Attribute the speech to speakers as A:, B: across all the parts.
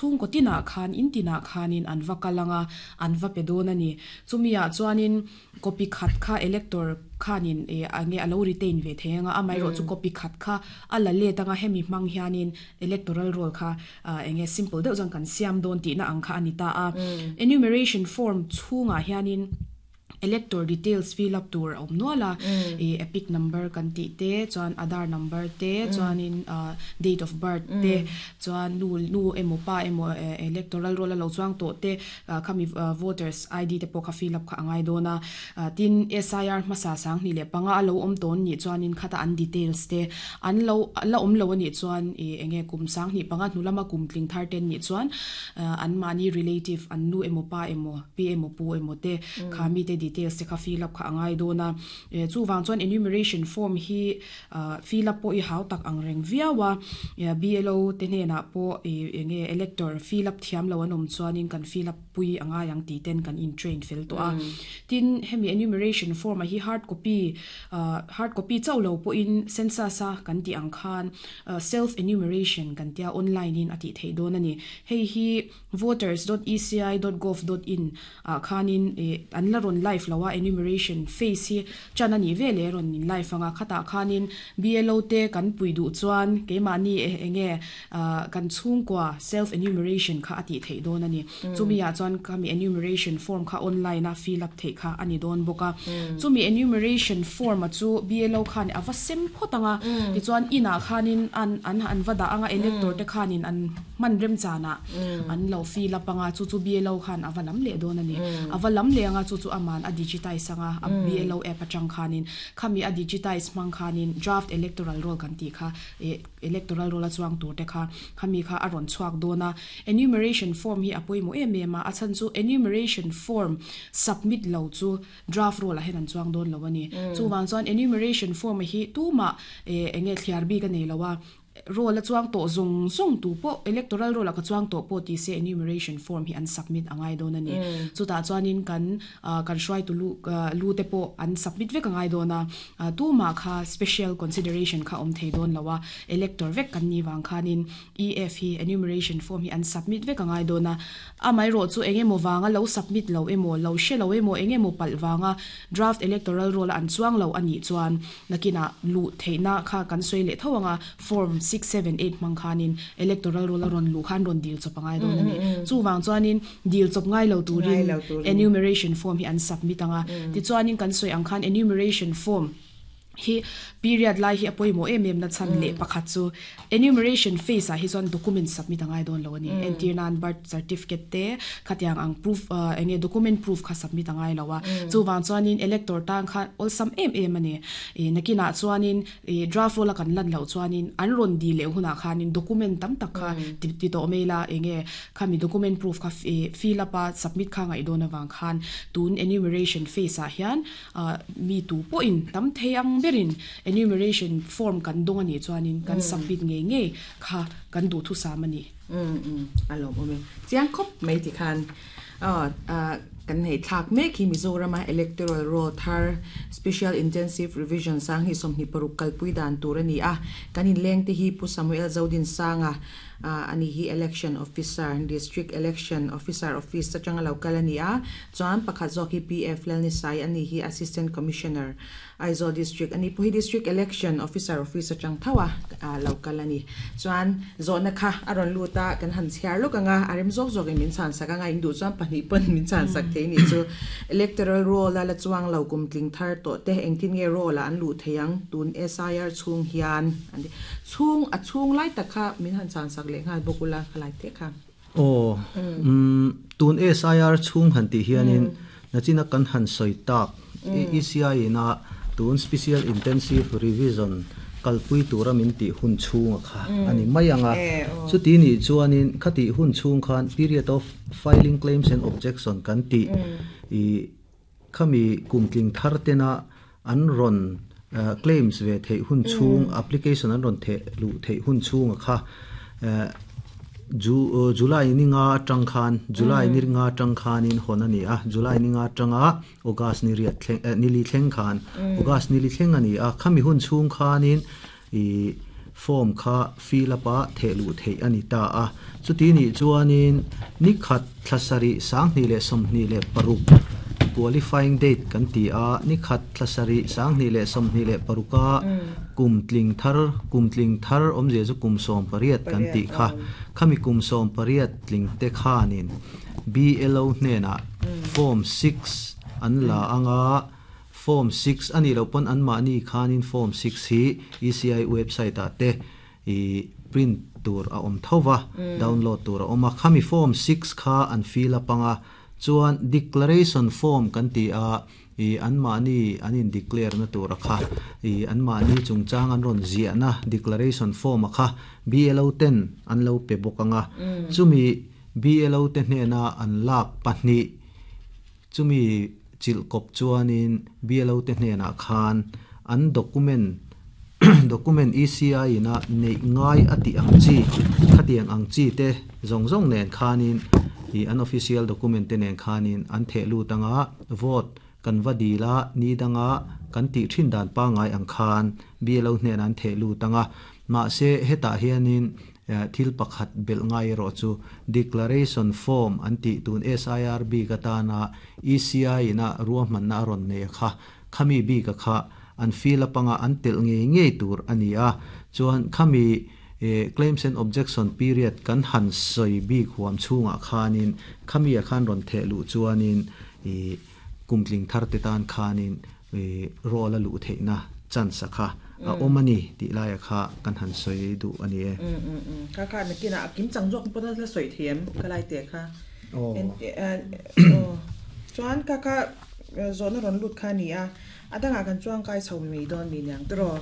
A: Chhungkaw tinah khan in tinah khanin an va kal anga an va pe dawn a ni. Chumi ah chuanin copy khat kha elector khanin ih enge a lo retain ve thei anga amaherawh chu copy khat kha a la let anga hemi hmang hianin electoral roll kha ah enge simple deuh chuan kan siam dawn tihna ang kha a ni ta a. Enumeration form chhungah hianin Elector details fill up tur a awm nual a, ih epic number kan tih te chuan Aadhaar number te chuanin ah date of birth te chuan nu nu emaw pa emaw electoral roll a lo chuang tawh te ah khami voters ID te pawh kha fill up kha a ngai dawn a, tin SIR hmasa 2005 a lo awm tawn nih chuanin khata an details te an lo la awm lo anih chuan ih enge kum 2005 hnu lama kum tling thar te nih chuan anmahni relative an nu emaw pa emaw pi emaw pu emaw te kha mite details te kha fill up kha a ngai dawn a, chuvang chuan enumeration form hi fill up pawh i hau tak ang reng viau a, BLO te hnenah pawh enge elector fill up thiam lo an awm chuanin kan fill up pui a ngai ang tih ten kan in train fel tawh a, tin hemi enumeration form a hi hard copy hard copy chauh lo pawhin census a kan tih ang khan self enumeration kan tia online in a tih theih dawn a ni, hei hi voters dot eci dot gov dot in ah khanin ih an la rawn live lo a enumeration phase hi chan a nih ve leh rawn in live anga khatah khanin BLO te kan pui duh chuan keimahni eh enge ah kan chhungkua self enumeration kha a tih theih dawn a ni chumi ah chuan khami enumeration form kha online a fill up theih kha a ni dawn bawk a chumi enumeration form a chu BLO khan a va sem phawt anga tichuan inah khanin an an an va dah anga elector te khanin an Hman remchanah an lo fill up anga chu chu BLO khan a va lam leh dawn a ni. A va lam leh anga chu chu aman a digitize anga a BLO app atang khanin khami a digitize hmang khanin draft electoral roll kan tih kha eh electoral roll a chuang tur te kha khami kha a rawn chhuak dawn a. Enumeration form hi a pawimawh em em a, a chhan chu enumeration form submit lo chu draft roll ah hian an chuang dawn lo a ni. Chuvang chuan enumeration form hi tumah eh enge thliar bik a nei lo a. Roll a chuang tawh zawng zawng tu pawh electoral roll ah ka chuang tawh pawh ti se enumeration form hi an submit a ngai dawn a ni. Chutah chuanin kan kan hruaitu lu lu te pawh an submit vek a ngai dawn a, tumah kha special consideration kha awm thei dawn lo a, elector vek kan nih vang khanin EF hi enumeration form hi an submit vek a ngai dawn a. Amaherawh chu eng emaw vanga lo submit lo emaw, lo hre lo emaw, eng emaw palh vanga draft electoral roll a an chuang lo a nih chuan nakinah luh theihna kha kan sawi leh tho anga form six, seven, eight hmang khanin electoral roll a rawn luh khan rawn dil chawp a ngai dawn a ni. Chuvang chuanin dil chawp ngai lo turin enumeration form hi an submit anga tichuanin kan sawi ang khan enumeration form Hi period lai hi a pawimawh em em na chhan leh pakhat chu enumeration phase ah hi chuan document submit a ngai dawn lo a ni. Entir nan birth certificate te khatiang ang proof eng nge document proof kha submit a ngai lo a. Chuvang chuanin elector tan khan awlsam em em a ni. Ih nakinah chuanin ih draft roll a kan lan loh chuanin an rawn dil leh hunah khanin document tam tak kha ti tawh mai ila eng nge Khami document proof kha fill up a submit kha ngaih dawn avang khan tun enumeration phase ah hian mi tu pawhin tam thei ang berin enumeration form kan dawng anih chuanin kan submit ngei ngei kha kan duhthusam a ni.
B: Umm umm a lawmawm e. Chiang khawp mai ti khan kan hei thlak mek hi Mizorama Electoral Roll thar Special Intensive Revision 2026 kalpui dan tur a ni a, kan inleng te hi Pu Samuel Zodinsanga, Ani hi Election Officer, District Election Officer Office atanga lo kal a ni a, chuan pakhat zawk hi PF Lalnisai ani hi Assistant Commissioner, Aizawl District ani pawh hi District Election Officer Office atang tho a lo kal a ni. Chuan zawhna kha a rawn lut a, kan han chhiar lawk ang a, a rem zawk zawkin min chhan sak ang a, in duh chuan pahnih pawn min chhan sak thei a nih chu. Electoral Roll a la chuang lo kum tling thar tawh te engtin nge roll ah an luh thei ang tun SIR chhung hian an ti. Chhung, a chhung lai tak kha min han chhan sak leh nghal bawk ula, ka lai teh kha.
C: Aw, umm, tun SIR chhung han tih hianin nachina kan han sawi tak, ECI ina tun Special Intensive Revision kalpui tura min tih hun chhunga kha a ni mai ang a. Chuti nih chuanin khatih hun chhung khan period of filing claims and objection kan tih i Khami kumtling thar tena an rawn claims ve theih hun chhung, application an rawn theh luh theih hun chhunga kha July ni nga atang khan, July ni nga atang khanin hawn a ni a, July ni nga atanga August ni riat thleng, ni li thleng khan, August ni li thleng a ni a, khami hun chhung khanin ih. form kha fill up a theh luh theih a ni ta a. Chuti nih chuanin ni khat thla sarih 2026 qualifying date kan ti a, ni khat thla sarih 2026 a kum tling thar, kum tling thar awmzia chu kum 18 kan tih kha, khami kum 18 tling te khanin BLO hnenah form 6 an la anga, form 6 a nih loh pawn anmahni khanin form 6 hi ECI website ah te i print tur a awm tho va, download tur a awm a, khami form 6 kha an fill up anga, chuan declaration form kan ti a, i anmahni an in declare na tur a kha, i anmahni chungchang an rawn ziahna declaration form a kha BLO ten an lo pe bawk anga, chumi BLO te hnena an lak pahnih chumi chilh kawp chuanin BLO te hnenah khan an document document ECI ina neih ngai a tih ang chi khatiang ang chi te zawng zawng nen khanin i an official document te nen khanin an theh lut anga, vote kan va dil a, ni danga kan tih thin dan pangai ang khan BLO hnenah an theh lut anga, mahse hetah hianin thil pakhat belh ngai erawh chu declaration form an tih tun SIR bik atana ECI ina ruahmanna a rawn nei a kha, khami bik a kha an fill up anga an telh ngei ngei tur a ni a, chuan khami claims and objection period kan han sawi bik huam chhungah khanin khami a khan rawn theh luh chuanin i kumtling thar te tan khanin roll a luh theihna chance a kha a awm a ni tih laia kha kan han sawi duh a ni e.
B: Kha kha nakinah a kim chang zawk pawn a la sawi thei em ka lai teh kha. Chuan kha kha zawhna rawn lut kha a ni a, a dangah kan chuang kai chho mai dawn mi niang tiraw.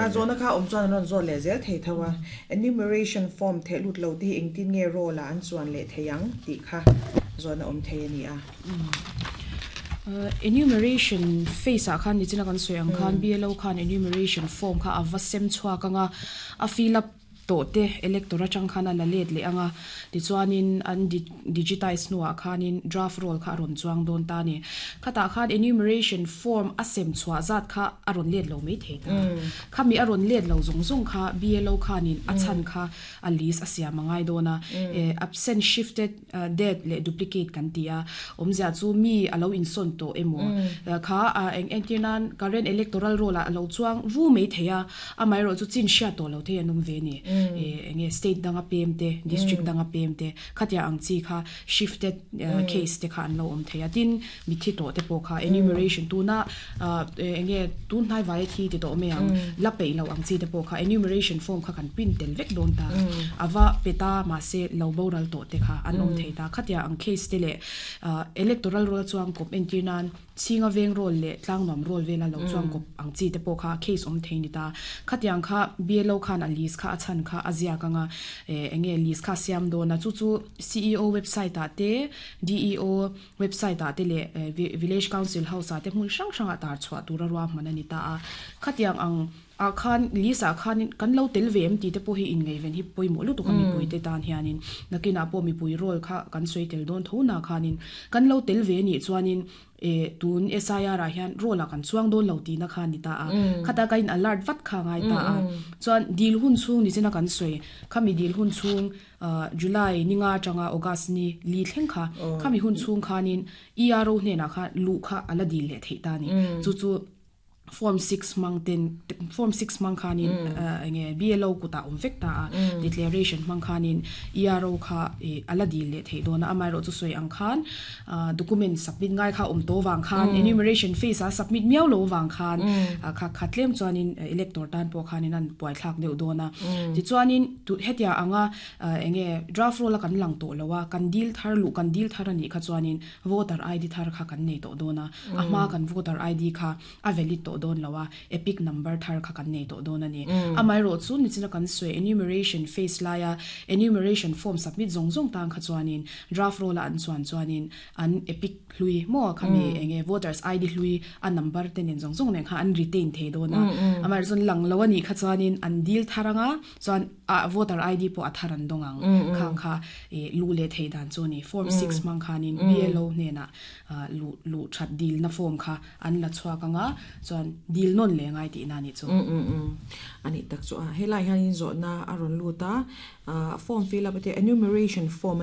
B: A zawhna kha awm chuan an rawn zawt leh zel thei tho a. Enumeration form theh lut lo te hi engtin nge roll ah an chuan leh thei ang tih kha zawhna awm thei a ni a.
A: Enumeration phase ah khan nichina kan sawi ang khan BLO khan enumeration form kha a va sem chhuak anga, a fill up tawh te elector atang khan a la let leh anga, tichuanin an digitize hnuah khanin draft roll kha a rawn chuang dawn ta a ni. Khatah khan enumeration form a sem chhuah zat kha a rawn let lo mai thei ta. Khami a rawn let lo zawng zawng kha BLO khanin a chhan kha a list a siam a ngai dawn a, absent shifted Dead leh duplicate kan ti a, awmzia chu mi a lo insawn tawh emaw kha eng entir nan current electoral roll ah a lo chuang vu mai thei a, amaherawh chu chin hriat tawh lo thei an awm ve a ni. Enge state danga pem te, district danga pem te khatia ang chi kha shifted case te kha an lo awm thei a, tin mitthi tawh te pawh kha enumeration tuna enge tun hnai vaia thi ti tawh mai ang la peih loh ang chi te pawh kha enumeration form kha kan print tel vek dawn ta a va pe ta mahse lo boral tawh te kha an awm thei ta khatia ang case te leh electoral roll chuang kawp entir nan chhinga veng roll leh tlangnuam roll vela lo chuang kawp ang chi te pawh kha case awm thei ni ta khatiang kha BLO khan a list kha a chhan kha a ziak anga enge list kha a siam dawn a chu chu CEO website ah te DEO Website ah te leh Village Council House ah te hmun hrang hrang ah tar chhuah tura ruahman a ni ta a. Khatiang ang ah khan list ah khan kan lo tel ve em tih te pawh hi inngaihven hi pawimawh lutuk a mipui te tan hianin nakinah pawh mipui role kha kan sawi tel dawn tho na khanin kan lo tel ve nih chuanin eh tun SIR ah hian role ah kan chuang dawn lo tihna kha a ni ta a. Khata ka in alert vat kha a ngai ta a. Chuan dil hun chhung ni china kan sawi khami dil hun chhung July ni nga atanga August ni li thleng kha, khami hun chhung khanin ERO hnenah kha luh kha a la dil leh theih ta a ni. Chu chu Form 6 hmang ten Form 6 hmang khanin enge BLO kutah awm vek ta a, declaration hmang khanin ERO kha a la dil leh theih dawn a. Amaherawhchu sawi ang khan document submit ngai kha awm tawh vang khan enumeration phase a submit miau lo vang khan kha kha tlem chuanin elector tan pawh khanin an buaithlak deuh dawn a. Tichuanin hetia anga enge draft roll a kan lang tawh lo a, kan dil thar luh kan dil thar anih kha chuanin voter ID thar kha kan nei tawh dawn a, a hma kan voter ID kha a valid tawh dawn lo a, epic number thar kha kan nei tawh dawn a ni. Amaherawh chu nichina kan sawi enumeration phase laia enumeration form submit zawng zawng tan kha chuanin draft roll a an chuan chuanin an epic hlui maw khami enge voters ID hlui a number te nen zawng zawng nen kha an retain thei dawn a. Amaherawh chuan lang lo a nih kha chuanin an dil thar anga chuan a voter ID pawh a thar an dawng ang khang kha luh leh theih dan chu a ni. Form 6 hmang khanin BLO hnenah luh luh that dilna form kha an la chhuak anga chuan. chuan dil non le ngai ti na ni chu.
B: Ani tak chu a helai hian in zawh na a rawn lut a, form fill up te, enumeration form ani.